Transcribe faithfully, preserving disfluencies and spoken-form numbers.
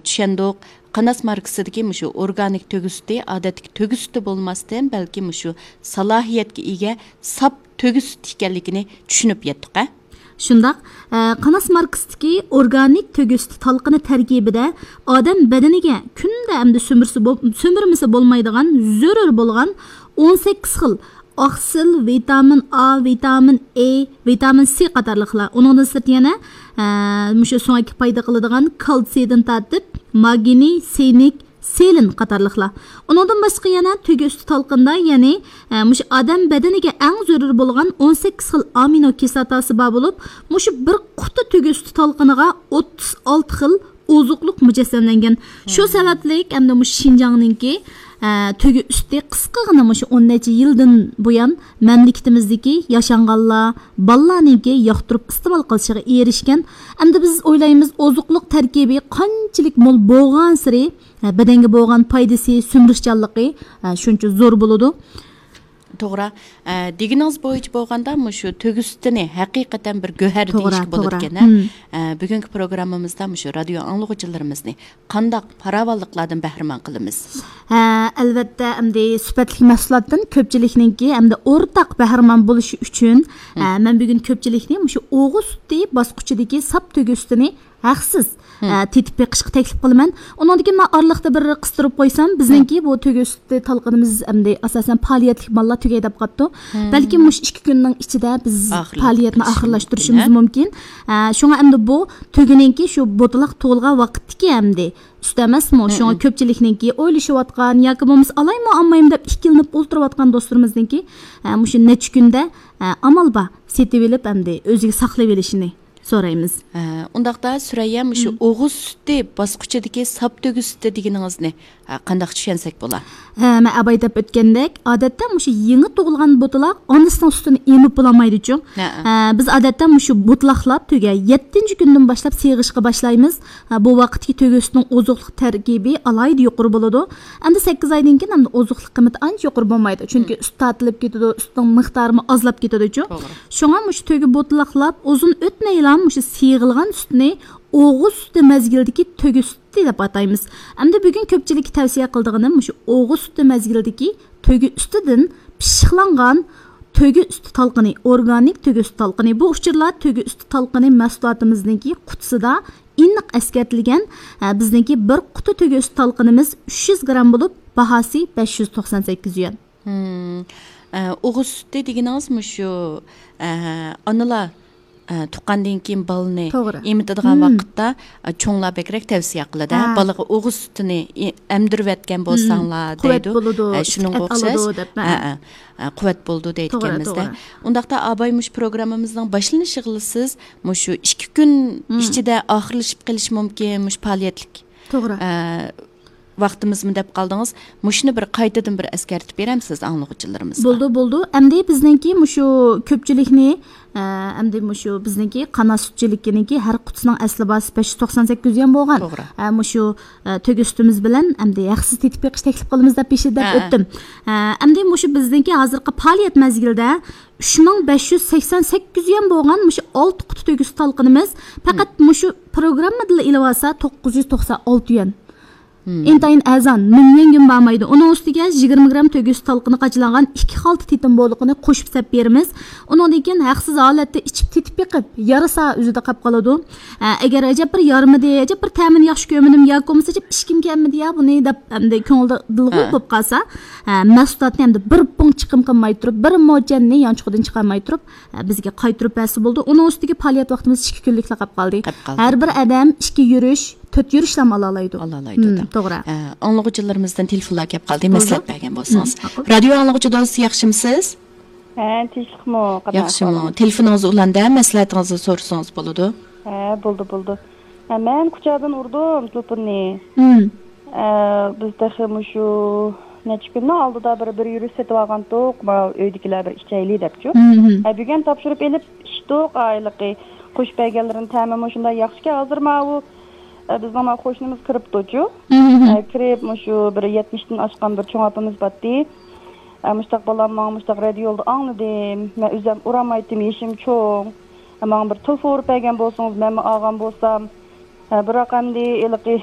چۈشەندۇق. قاناس ماركىسىدىكى مۇشۇ ئورگانىك تۆگە سۈتى ئادەتتىكى تۆگە سۈتى بولماستىن، بەلكى مۇشۇ سالاھىيەتكە ئىگە ساپ تۆگە سۈتى ئىكەنلىكىنى چۈشىنىپ يەتتۇق، ھە؟ شۇنداق. ئە، قاناس ماركىسىدىكى ئورگانىك تۆگە سۈتى تالقىنى تەركىبىدە ئادەم بەدىنىگە كۈندە ئەمدى سۈمۈرسە بول-، سۈمۈرمىسە بولمايدىغان زۆرۈر بولغان ئون سەككىز خىل ئاقسىل، ۋىتامىن ئا، ۋىتامىن ئې، ۋىتامىن سى قاتارلىقلار. ئۇنىڭدىن سىرت يەنە، ئە، مۇشۇ سۆڭەككە پايدا قىلىدىغان كالتسىيدىن تارتىپ ماگنىي، سىنك، سېلېن قاتارلىقلار. ئۇنىڭدىن باشقا يەنە تۆگە ئۈستى تالقىندا، يەنى، ئە، مۇشۇ ئادەم بەدىنىگە ئەڭ زۆرۈر بولغان ئون سەككىز خىل ئامىنو كىسلاتاسى بار بولۇپ، مۇشۇ بىر قۇتا تۆگە ئۈستى تالقىنىغا ئوتتۇز ئالتە خىل ئوزۇقلۇق مۇجەسسەملەنگەن. شۇ سەۋەبلىك ئەمدى مۇشۇ شىنجاڭنىڭكى، ئە، تۆگە ئۈستى قىسقىغىنە مۇشۇ ئون نەچچە يىلدىن بۇيان مەملىكىتىمىزدىكى ياشانغانلار، بالىلارنىڭكى ياقتۇرۇپ ئىستېمال قىلىشىغا ئېرىشكەن. ئەمدى بىز ئويلايمىز، ئوزۇقلۇق تەركىبى قانچىلىك مول بولغانسېرى، ھە، بەدەنگە بولغان پايدىسى، سۈمۈرۈشچانلىقى، ھە، شۇنچە زور بولىدۇ. توغرا. ئە، دېگىنىڭىز بويىچە بولغاندا، مۇشۇ تۆگە سۈتىنى ھەقىقەتەن بىر گۆھەر توغرا، دېيىشكە توغرا. بولىدىكەن، ھە؟ مم. ئە، بۈگۈنكى پروگراممىمىزدا مۇشۇ رادىيو ئاڭلىغۇچىلىرىمىزنى قانداق پاراۋانلىقلاردىن بەھرىمەن قىلىمىز؟ ھە، ئەلۋەتتە، ئەمدى سۈپەتلىك مەھسۇلاتتىن كۆپچىلىكنىڭكى ئەمدى ئورتاق بەھرىمەن بولۇشى ئۈچۈن، مم. ئە، مەن بۈگۈن كۆپچىلىكنى مۇشۇ ئوغۇز سۈتى باسقۇچىدىكى ساپ تۆگە سۈتىنى ھەقسىز، مم. ئە، تېتىپ بېقىشقا تەكلىپ قىلىمەن. ئۇنىڭدىن كېيىن مەن ئارىلىقتا بىر قىستۇرۇپ قويسام، بىزنىڭكى بۇ تۆگە سۈتى تالقىنىمىز ئەمدى ئاساسەن پائالىيەتلىك ماللار تۈگەي دەپ قاپتۇ. مم. بەلكىم مۇشۇ ئىككى كۈننىڭ ئىچىدە بىز ئاخىرلاشتۇرۇپ پائالىيەتنى كېتىشى ئاخىرلاشتۇرۇشىمىز مۇمكىن، ھە؟ مۇمكىن. ئە، شۇڭا ئەمدى بۇ تۆگىنىڭكى شۇ بوتىلاق تۇغۇلغان ۋاقىتتىكى ئەمدى سۈت ئەمەسمۇ؟ شۇڭا مم. كۆپچىلىكنىڭكى ئويلىشىۋاتقان ياكى بولمىسا ئالايمۇ ئالمايمۇ دەپ ئىككىلىنىپ ئولتۇرۇۋاتقان دوستلىرىمىزنىڭكى، ئە، مۇشۇ نەچچە كۈندە، ئە، ئامال بار سېتىۋېلىپ ئەمدى ئۆزىگە ساقلىۋېلىشىنى سورايمىز. ھە، ئۇنداقتا سۈرەييە، مۇشۇ مم. ئوغۇز سۈتى باسقۇچىدىكى ساپ تۆگە سۈتى دېگىنىڭىزنى، ھە، قانداق چۈشەنسەك بولا؟ ھە، مەن ئاباي دەپ ئۆتكەندەك، ئادەتتە مۇشۇ يېڭى تۇغۇلغان بوتىلاق ئانىسىنىڭ سۈتىنى ئېمىپ بولالمايدىچۇ. ھە. ھە، بىز ئادەتتە مۇشۇ بوتىلاقلاپ تۆگە يەتتىنچى كۈندىن باشلاپ سېغىشقا باشلايمىز. ھە، بۇ ۋاقىتتىكى تۆگە سۈتىنىڭ ئوزۇقلۇق تەركىبى ئالاھىدە يۇقىرى بولىدۇ. ئەمدى سەككىز ئايدىن كېيىن ئەمدى ئوزۇقلۇق قىممىتى ئانچە يۇقىرى بولمايدۇ. چۈنكى مم. سۈت تارتىلىپ كېتىدۇ، سۈتنىڭ مىقدارىمۇ ئازلاپ كېتىدۇچۇ. توغرا. شۇڭا مۇشۇ تۆگە بوتىلاقلاپ ئۇزۇن ئۆتمەيلا مۇشۇ سېغىلغان سۈتنى ئوغۇز سۈتى مەزگىلىدىكى تۆگە سۈتى دەپ ئاتايمىز. ئەمدى بۈگۈن كۆپچىلىككە تەۋسىيە قىلىدىغىنىم مۇشۇ ئوغۇز سۈتى مەزگىلىدىكى تۆگە سۈتىدىن پىششىقلانغان تۆگە سۈتى تالقىنى، ئورگانىك تۆگە سۈتى تالقىنى. بۇ ئۇچۇرلار تۆگە سۈتى تالقىنى مەھسۇلاتىمىزنىڭكى قۇتىسىدا ئېنىق ئەسكەرتىلگەن. ھە، بىزنىڭكى بىر قۇتا تۆگە سۈتى تالقىنىمىز ئۈچ يۈز گرام بولۇپ، باھاسى بەش يۈز توقسان سەككىز يۈەن. مم. ئە، ئوغۇز سۈتى دېگىنىڭىز مۇشۇ، ئە، ئانىلار، ئە، تۇغقاندىن كېيىن بالىنى توغرا. ئېمىتىدىغان مم. ۋاقىتتا، ئە، چوڭلار بەكرەك تەۋسىيە قىلىدۇ، ھە، ھە. بالىغا ئوغۇز سۈتىنى ئې-، ئەمدۈرۈۋەتكەن مم. بولساڭلار قۇۋۋەت دەيدۇ. بولىدۇ، ھە، شۇنىڭغا ئوخشاش. ئالىدۇ دەپ، ھە. ھە، ھە. ئە، قۇۋۋەت بولىدۇ توغرا، دەيدىكەنمىز-دە. توغرا. ئۇنداقتا ئاباي مۇشۇ پروگراممىمىزنىڭ باشلىنىشىغىلا سىز مۇشۇ ئىككى كۈن مم. ئىچىدە ئاخىرلىشىپ قېلىشى مۇمكىن، مۇشۇ پائالىيەتلىك، توغرا. ئە، ۋاقتىمىزمۇ دەپ قالدىڭىز. مۇشۇنى بىر قايتىدىن بىر ئەسكەرتىپ بېرەمسىز ئاڭلىغۇچىلىرىمىزغا؟ بولىدۇ، بولىدۇ. ئەمدى بىزنىڭكى مۇشۇ كۆپچىلىكنى، ئە، ئەمدى مۇشۇ بىزنىڭكى قانات سۈتچىلىكىنىڭكى ھەر قۇتىسىنىڭ ئەسلى باھاسى بەش يۈز توقسان سەككىز يۈەن بولغان. توغرا. ئە، مۇشۇ، ئە، تۆگە سۈتىمىز بىلەن ئەمدى ھەقسىز تېتىپ بېقىش تەكلىپ قىلىمىز دەپ بېشىدا دەپ ھە، ھە. ئۆتتۈم. ئە، ئەمدى مۇشۇ بىزنىڭكى ھازىرقى پائالىيەت مەزگىلىدە ئۈچ مىڭ بەش يۈز سەكسەن سەككىز يۈەن بولغان مۇشۇ ئالتە قۇتا تۆگە سۈتى تالقىنىمىز پەقەت مم. مۇشۇ پروگراممىدىلا ئېلىۋالسا توققۇز يۈز توقسان ئالتە يۈەن. مم. ئىنتايىن ئەرزان، مىڭ يۈەنگىمۇ بارمايدۇ. ئۇنىڭ ئۈستىگە يىگىرمە گرام تۆگە سۈتى تالقىنى قاچىلانغان ئىككى خالتا تېتىم بولىقىنى قوشۇپ سەپ بېرىمىز. ئۇنىڭدىن كېيىن ھەقسىز ھالەتتە ئىچىپ تېتىپ بېقىپ، يارىسا ئۆزىدە قاپ قالىدۇ. ئە، ئەگەر ئەجەب بىر يارىمىدى، ئەجەب بىر تەمىنى ياخشى كۆرمىدىم ياكى بولمىسا ئەجەب ئىچكۈم كەلمىدى يا بۇنى دەپ، ئەمدى كۆڭلىدە دىلغۇ ھە. بولۇپ قالسا، ئە، مەھسۇلاتنى ئەمدى بىر پۇڭ چىقىم قىلماي تۇرۇپ، بىر موچەننى يانچۇقىدىن چىقارماي تۇرۇپ، ئە، بىزگە قايتۇرۇپ بەرسە بولىدۇ. ئۇنىڭ ئۈستىگە پائالىيەت ۋاقتىمىز ئىككى كۈنلۈكلا قاپ قالدى. قاپ قالدى. ھەر بىر ئادەم ئىككى يۈرۈش، تۆت يۈرۈشلەرمۇ ئالالايدۇ. ئالالايدۇ مم، دا. توغرا. ئە، ئاڭلىغۇچىلىرىمىزدىن تېلېفونلار كەپ قالدى، بولىدۇ. مەسلىھەت بەرگەن بولسىڭىز. مم، ماقۇل. رادىيو ئاڭلىغۇچى دوست، ياخشىمۇسىز؟ ھە، تىنچلىقمۇ، قادىر ياخشىمۇ؟ ئەھۋالىڭىز؟ تېلېفونىڭىزنى ئۇلاندە، مەسلىھەتىڭىزنى سورىسىڭىز بولىدۇ. ھە، بولدى، بولدى. ھە، مەن كۇچادىن ئۇردۇم تېلېفوننى. مم. ئە، بىز تېخى مۇشۇ نەچچە كۈننىڭ ئالدىدا بىر، بىر يۈرۈش سېتىۋالغانتۇق، ما ئۆيدىكىلەر بىر ئىچەيلى دەپچۇ. مم. ئە، بۈگۈن تاپشۇرۇپ ئېلىپ ئىچتۇق، ھېلىقى قوشۇپ بەرگەنلىرىنىڭ تەمىمۇ شۇنداق ياخشىكەن. ھازىر ماۋۇ، ئە، بىزنىڭ ماۋۇ قوشنىمىز كىرىپتۇچۇ. مم. ئە، كىرىپ مۇشۇ بىر يەتمىشتىن ئاشقان بىر چوڭ ئاپىمىز باتتى. ئە، مۇشتاق بالام ماڭا مۇشتاق رادىيو يولىدا ئاڭلىدىم. مەن ئۆزۈم ئۇرالمايتتىم، يېشىم چوڭ. ئە، ماڭا بىر تېلېفون ئۇرۇپ بەرگەن بولسىڭىز، مەنمۇ ئالغان بولسام. ئە، بىراق ئەمدى ھېلىقى